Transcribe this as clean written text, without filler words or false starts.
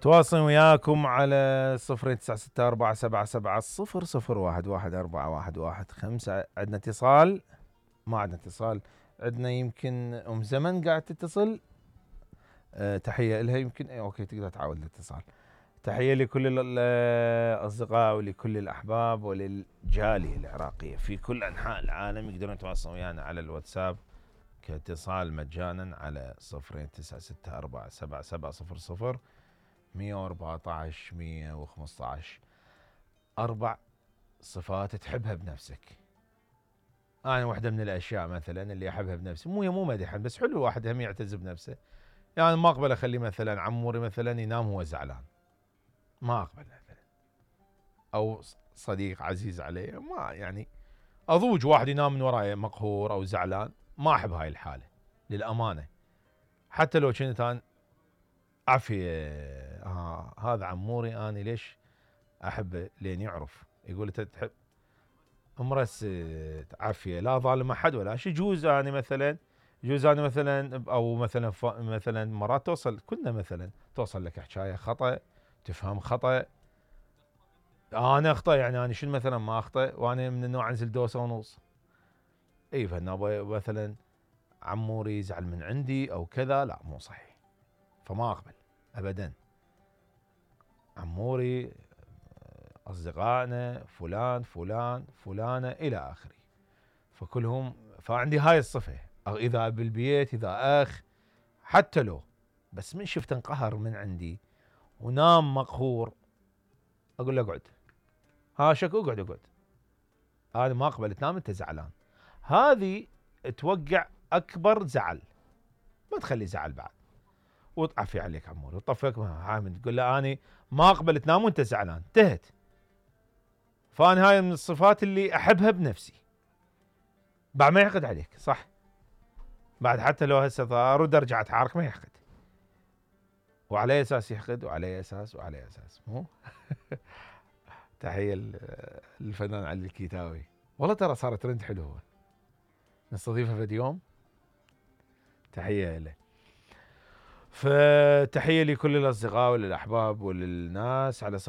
تواصل وياكم على 096477000115. عندنا اتصال؟ ما عندنا اتصال. عندنا يمكن ام زمن قاعد تتصل. تحية لها يمكن. اوكي تقدر تعاود الاتصال. تحية لكل الاصدقاء ولكل الاحباب وللجالية العراقية في كل انحاء العالم يقدرون يتواصلون ويانا على الواتساب كاتصال مجانا على 096477000114 4 صفات تحبها بنفسك. انا واحدة من الاشياء مثلا اللي احبها بنفسي مو مدحا بس حلو الواحد هم يعتز بنفسه. يعني ما اقبل اخلي مثلا عموري مثلا ينام وهو زعلان. ما اقبل مثلا. او صديق عزيز علي ما يعني اضوج واحد ينام من وراي مقهور او زعلان. ما احب هاي الحالة للامانة. حتى لو كنت انا عافية هذا عموري اني ليش احبه لين يعرف يقول انت تحب امرس عافية لا ظالم احد ولا شيء. يجوز انا مثلا او مثلا مرات توصل كنا مثلا توصل لك حكاية خطأ تفهم خطأ. انا اخطأ يعني انا شنو مثلا ما اخطأ وانا من النوع انزل دوسة ونص. اي فانا مثلا عموري يزعل من عندي او كذا لا مو صحيح. فما اقبل ابدا. عموري اصدقائنا فلان فلان فلانة الى اخره. فكلهم فعندي هاي الصفة. اذا بالبيت اذا اخ حتى لو بس من شفت انقهر من عندي ونام مقهور اقول له اقعد. شك اقعد. انا ما اقبل تنام انت زعلان. هذه توقع اكبر زعل. ما تخلي زعل بعد. وتعفي عليك عموري وطفك حامد تقول له اني ما اقبل تنام وانت زعلان انتهت. فانا هاي من الصفات اللي احبها بنفسي. بعد ما يحقد عليك صح. بعد حتى لو هسه ارد ارجع اتعارك ما يحقد. وعلى اساس يحقد وعلى اساس مو تحية للفنان علي الكيتاوي. والله ترى صارت ترند حلوة نستضيفه في يوم. تحية له. فتحية لكل الأصدقاء وللأحباب وللناس على 096477000114.